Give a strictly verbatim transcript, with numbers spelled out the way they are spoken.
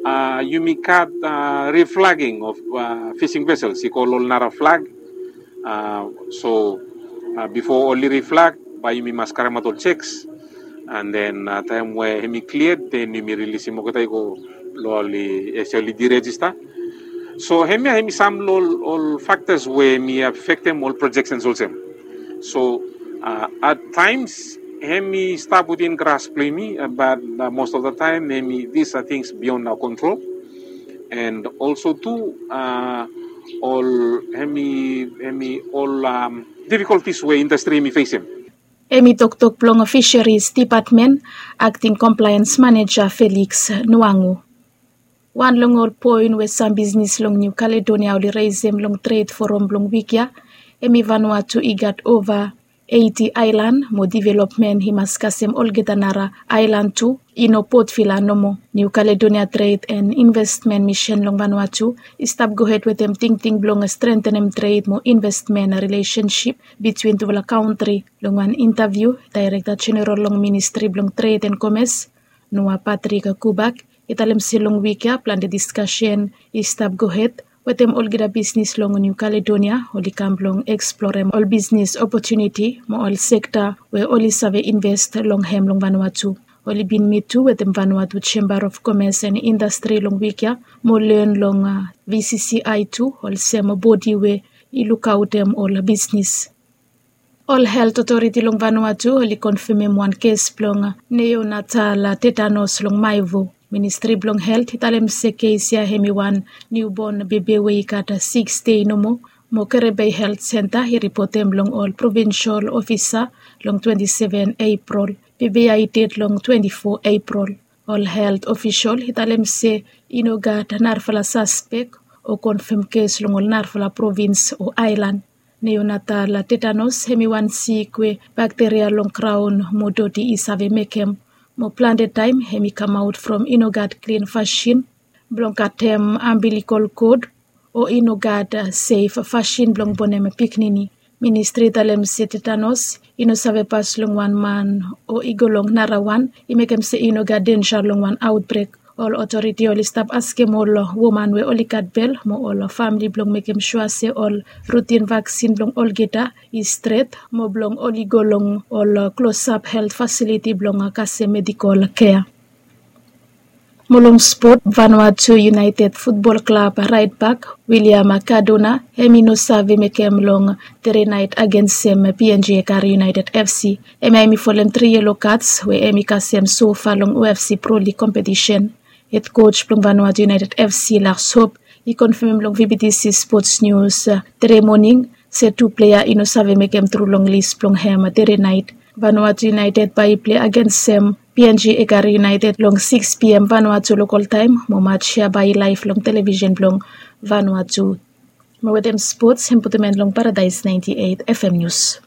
Yumi gat reflagging of fishing vessels i go long ol nara flag. So bifo oli reflag bae yumi mas karemaot ol checks, and then taem we hemi cleared, then yumi rilisim olgeta i go long oli as oli deregister. So hemia hemi sam long ol factors we hemi affectem ol projections olsem. So at times hemi stap within grasp blong yumi, but most of the time hemi, these are things beyond our control. And also tu ol hemi hemi ol difficulties we industry hemi facem. Hemi toktok blong Fisheries Department, Acting Compliance Manager Felix Nuangu. Wan long ol poen we sam bisnis long New Caledonia oli resem long Trade Forum blong wik ya, hemi Vanuatu i gat ova eiti aelan mo developmen i mas kasem olgeta nara aelan tu, i no Port Vila nomo. New Caledonia Trade and Investment Mission long Vanuatu i stap gohed wetem tingting blong strentenem tred mo investmen rilesensip bitwin tufala kantri. Long wan intaviu, Daerekta Jeneral long Ministri blong Tred and Komes, Noa Patrik Kubak, i talem se long wik ya plante diskasen i stap gohed wetem olgeta bisnis long New Caledonia oli kam blong eksplorem ol bisnis opotuniti mo ol sekta we oli save invest long hem long Vanuatu. Oli bin mit tu wetem Vanuatu Chamber of Commerce and Industry long wik ya mo len long V C C I tu, olsem bodi we i lukaotem ol bisnis. Ol helt otoriti long Vanuatu oli konfemem wan kes blong neonatal tetanos long Maevu. Ministri blong Helt i talem se kes ya hemi wan niubon bebe we i gat sikis dei nomo mo Kerebei Helt Senta i ripotem long ol provinsol ofisa long twenti seven Epril. Bebe ya i ded long twenti fo Epril. Ol helt ofisol i talem se i no gat narafala saspek o konfem kes long ol narafala provins o aelan. Neonatal tetanos hemi wan sik we bakteria long kraon mo doti i save mekem, mo plante taem hemi kamaot from i no gat klin fasin blong katem ambilikol kod o i no gat sef fasin blong bonem pikinini. Ministri i talem se tetanos i no save pas long wan man o i go long narawan, i mekem se i no gat denja long wan aotbrek. Ol otoriti oli stap askem ol woman we oli gat bel mo ol famili blong mekem sua se ol rutin vaksin blong olgeta i stret mo blong oli go long ol klosap helt fasiliti blong kasem medikol kea. Mo long spot, Vanuatu United futbol klab raetbak William Cardona hemi no save mekem long tre naet agensem P N G Ekare United F C. Hemia hemi folem tri yelo kats we hemi kasem sofa long O F C Pro League kompetisen. Hed koj blong Vanuatu United F C, Lars Hop, i konfemem long V B T C Sports News tre moning se tu plea i no save mekem tru long lis blong hem tre naet. Vanuatu United bae i plei agensem P N G Ekare United long sikis P M Vanuatu lokol taem mo maj ya bae i laef long televisen blong Vanuatu. Mo wetem spots, hem putum en long Paradaes naenti eit F M Nius.